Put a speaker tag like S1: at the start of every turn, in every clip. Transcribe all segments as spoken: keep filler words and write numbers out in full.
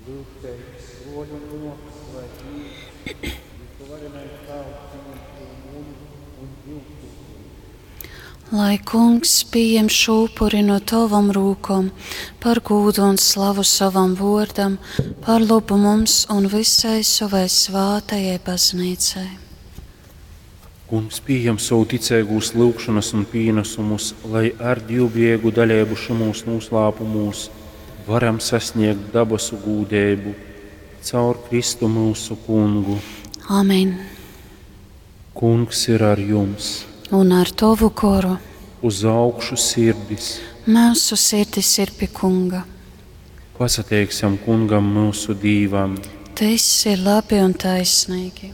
S1: Lyugtēs, bruoļi un muosys, lai Dīvs, Vysuvarenais Tāvs, pījem šū munu un jyusu upuri.
S2: Lai Kungs pieņem šo upuri no tavam rūkom, par gūdu un slavu savam vārdam, par labu mums un visai savai svātajai baznīcai.
S3: Kungs pieņem savu ticīgūs lūgšanas un pienesumus, lai ar divbiegu daļību šimūs noslēpumos varam sasniegt dabasu gūdību caur Kristu mūsu kungu.
S2: Amen.
S3: Kungs ir ar jums,
S2: Un ar tavu goru
S3: uz augšu sirdis.
S2: mūsu sirdis ir pie Kunga.
S3: Pasateiksim kungam mūsu dīvam.
S2: Tas ir labi un taisnīgi.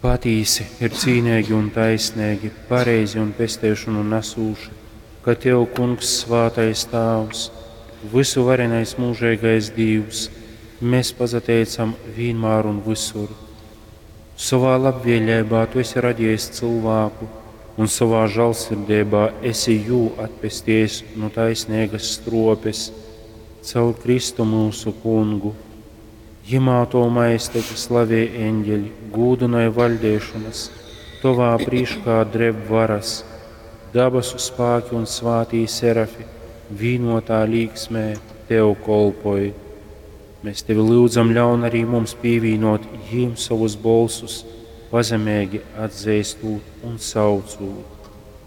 S3: Patīsi ir cīnīgi un taisnīgi, pareizi un pestēšanu nesūši, ka Tev, Kungs, svātais Tāvs, visu varenais mūžīgais Dīvs, mēs pasateicam vienmēr un visur. Savā labvēlībā Tu esi radījis cilvēku, un savā žēlsirdībā esi jū atpestījis no taisnīgas stropes caur Kristu mūsu kungu. Jimā to maesteti slavē eņģeļi, gūdināja vaļdēšanas, tovā prīškā dreb varas, dabasu spāki un svātī serafi, vīnotā līksmē tev kolpoj. Mēs tevi lūdzam, ļaun arī mums pievienot jīm savus bolsus, pazemīgi atzīstot un saucot.